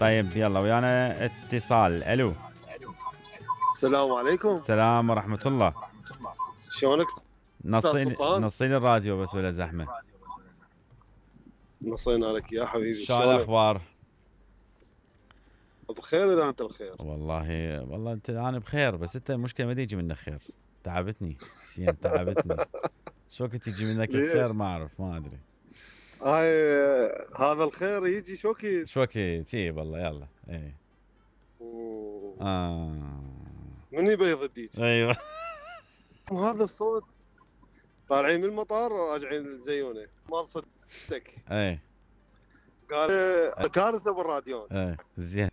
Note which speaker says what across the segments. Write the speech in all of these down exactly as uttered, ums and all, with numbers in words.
Speaker 1: طيب يلا ويانا اتصال. الو
Speaker 2: السلام عليكم.
Speaker 1: السلام ورحمة الله.
Speaker 2: شلونك؟
Speaker 1: نصيني نصيني الراديو بس ولا زحمة.
Speaker 2: نصينا لك يا حبيبي.
Speaker 1: شلون الاخبار؟
Speaker 2: بخير اذا انت بخير.
Speaker 1: والله والله انت انا بخير، بس انت المشكلة ما تيجي منك خير. تعبتني سين تعبتني. شو وقت يجي منك الخير ما اعرف ما ادري.
Speaker 2: هاي هذا الخير يجي شو وقت؟
Speaker 1: شو وقت تي والله يلا ايه. اه
Speaker 2: من يبيض الديك؟
Speaker 1: ايوه.
Speaker 2: وهذا الصوت طالعين من المطار راجعين الزيونه ما صدقك.
Speaker 1: ايه
Speaker 2: قال كارثه بالراديون.
Speaker 1: ايه زين.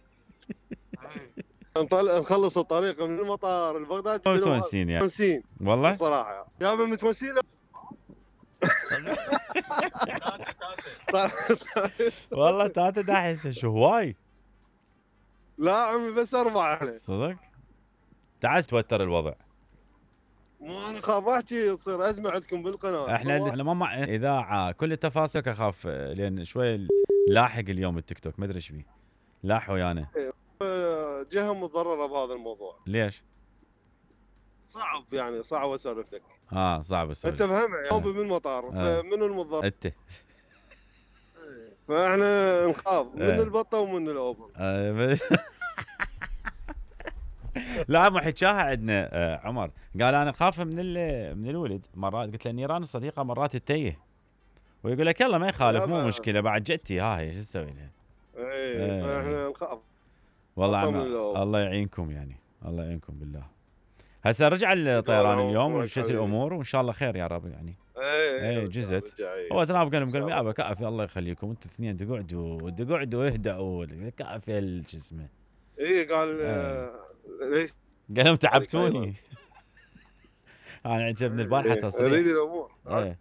Speaker 2: نطلع نخلص الطريق من المطار لبغداد
Speaker 1: متونسين يعني
Speaker 2: متونسين
Speaker 1: والله
Speaker 2: صراحه يا متونسين.
Speaker 1: والله تاتا داحسه شو هواي.
Speaker 2: لا عمي بس اربعه عليه
Speaker 1: صدق. تعال توتر الوضع.
Speaker 2: مو انا خاف احكي تصير ازمه عندكم بالقناه.
Speaker 1: احنا احنا ما مع اذاعه كل التفاصيل اخاف لان شوي لاحق اليوم التيك توك ما ادري ايش بيه لاح ويانا.
Speaker 2: جهه متضرره بهذا الموضوع.
Speaker 1: ليش؟
Speaker 2: صعب يعني صعب اسولف لك.
Speaker 1: اه صعب اسولف.
Speaker 2: انت فهمها يعني من المطار آه. فمنو المتضرر؟
Speaker 1: انت.
Speaker 2: فاحنا نخاف من آه. البطه ومن الاوبر.
Speaker 1: آه لا مو حكاها عندنا آه عمر قال انا اخاف من من الولد مرات. قلت له النيران الصديقه مرات تتيه ويقول لك يلا ما يخالف مو مشكله بعد جتي ها هي شو اسوي لها.
Speaker 2: اي آه. فاحنا نخاف
Speaker 1: والله عم الله يعينكم يعني الله يعينكم بالله. هسه رجع الطيران اليوم ومشيت الامور وان شاء الله خير يا رب يعني.
Speaker 2: اي
Speaker 1: اي جزت. هو ترى قال قال يابا كافي الله يخليكم انتم الاثنين تقعدوا تقعدوا اهدأوا كافي شو اسمه.
Speaker 2: اي قال آه. ليش؟
Speaker 1: قال لهم تعبتوني. انا عجبني البارحه تصريح.
Speaker 2: اريد الامور.
Speaker 1: ايه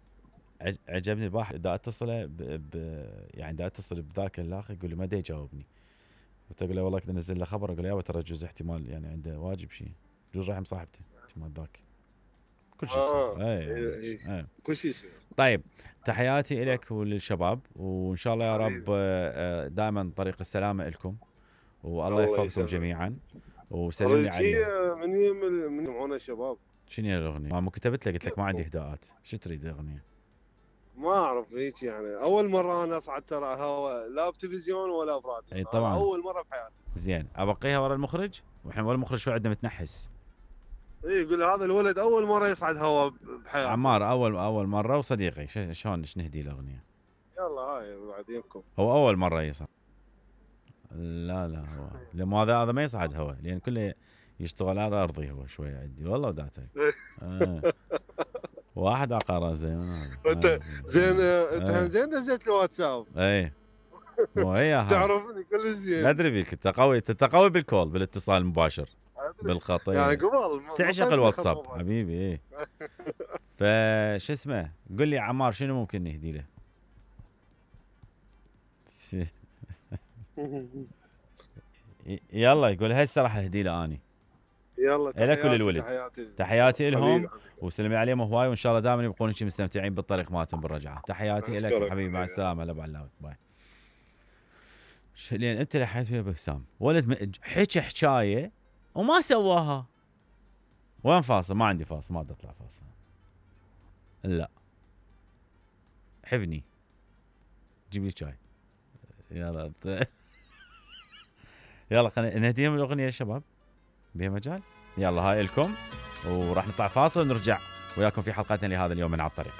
Speaker 1: عجبني البارحه دا اتصله ب... ب... يعني دا اتصل بذاك الاخ يقول لي ما دا يجاوبني. قلت له والله كنت انزل له خبر اقول له يابا ترى جزء احتمال يعني عنده واجب شيء جزء راح مصاحبته احتمال ذاك. كل شيء يصير.
Speaker 2: آه.
Speaker 1: اي
Speaker 2: ايه. كل شيء يصير.
Speaker 1: طيب تحياتي لك وللشباب وان شاء الله يا رب دائما طريق السلامه لكم والله يحفظكم جميعا وسلم لي عليهم.
Speaker 2: من يم من يجمعون الشباب.
Speaker 1: شنو هي الاغنيه؟ ما كتبت لك قلت لك ما عندي اهداءات. شو تريد اغنيه؟
Speaker 2: ما اعرف هيك يعني اول مره انا اصعد ترى هوا لا بتلفزيون ولا براديو.
Speaker 1: اي طبعا
Speaker 2: اول مره بحياتي.
Speaker 1: زين ابقيها ورا المخرج واحنا ورا المخرج شو عندنا متنحس.
Speaker 2: اي يقول هذا الولد اول مره يصعد هوا بحياته.
Speaker 1: عمار اول اول مره وصديقي شلون ايش نهدي الاغنيه؟
Speaker 2: يلا هاي بعدينكم.
Speaker 1: هو اول مره يصعد. لا لا هو لما هذا هذا ما يصعد هوا لان كله يشتغل على ارضي هو شويه عندي والله ودعتك. آه. واحد عقاره زين هذا.
Speaker 2: انت زين انت آه. زين نزلت له واتساب.
Speaker 1: اي مو هي
Speaker 2: تعرفني كل زين.
Speaker 1: ادري بيك انت قوي انت قوي بالكول بالاتصال المباشر بالخط
Speaker 2: يعني قبل
Speaker 1: تعشق الواتساب حبيبي ايه. فش اسمه قل لي عمار شنو ممكن نهدي له؟ يلا يقول هسه راح اهدي له اني.
Speaker 2: يلا
Speaker 1: لك وللولد
Speaker 2: تحياتي
Speaker 1: تحياتي لهم وسلمي عليهم هواي وان شاء الله دائما يبقون شي مستمتعين بالطريق مالتهم بالرجعه. تحياتي لك حبيبي مع السلامه. لا بعلاوي باي. لان انت اللي حيت ويا بسام ولد حكي حكايه وما سواها. وين فاصل؟ ما عندي فاصل ما بدي اطلع فاصل. لا حبني جيب لي شاي يلا. يلا خلينا نهديهم الاغنيه يا شباب بها مجال. يلا هاي لكم وراح نطلع فاصل ونرجع وياكم في حلقتنا لهذا اليوم من على الطريق.